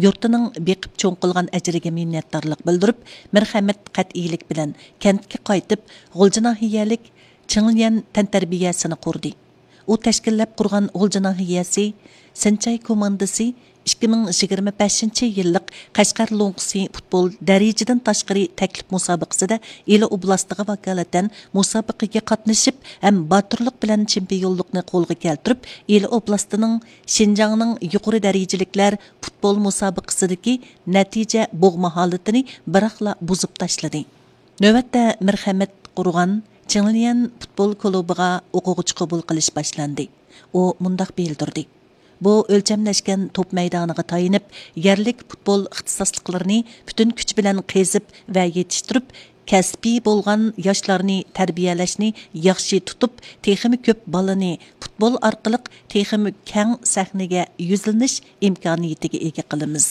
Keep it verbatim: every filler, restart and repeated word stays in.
يۇرتىنىڭ بېقىپ چوڭ قىلغان ئەجرىگە مىننەتدارلىق بىلدۈرۈپ، مىرخەمىت قەتئىيلىك بىلەن كەنتكە قايتىپ، غۇلجا ناھىيەلىك چىڭليەن تەنتەربىيەسىنى قۇردى. ئۇ تەشكىللەپ قۇرغان غۇلجا ناھىيەسى سىنچاي كوماندىسى ئىككى مىڭ يىگىرمە بەشىنچى يىللىق قەشقەر لوڭقىسى پۇتبول دەرىجىدىن تاشقىرى تەكلىپ مۇسابىقىسىدە ئىلى ئوبلاستىغا ۋاكالىتەن مۇسابىقىگە قاتنىشىپ ھەم باتۇرلۇق بىلەن چېمپىيونلۇقنى قولغا كەلتۈرۈپ، ئىلى ئوبلاستىنىڭ شىنجاڭنىڭ يۇقىرى دەرىجىلىكلەر پۇتبول مۇسابىقىسىدىكى نەتىجە بوغما ھالىتىنى بىراقلا بۇزۇپ تاشلىدى. نۆۋەتتە مىرخەمىت قۇرغان چىڭليەن پۇتبول كۇلۇبىغا ئوقۇغۇچى قوبۇل قىلىش باشلاندى. ئۇ مۇنداق بىلدۈردى: بۇ ئۆلچەملەشكەن توپ مەيدانىغا تايىنىپ، يەرلىك پۇتبول ئىختىساسلىقلىرىنى پۈتۈن كۈچ بىلەن قېزىپ ۋە يېتىشتۈرۈپ، كەسپىي بولغان ياشلارنى تەربىيەلەشنى ياخشى تۇتۇپ، تېخىمۇ كۆپ بالىنى پۇتبول ئارقىلىق تېخىمۇ كەڭ سەھنىگە يۈزلىنىش ئىمكانىيىتىگە ئىگە قىلىمىز.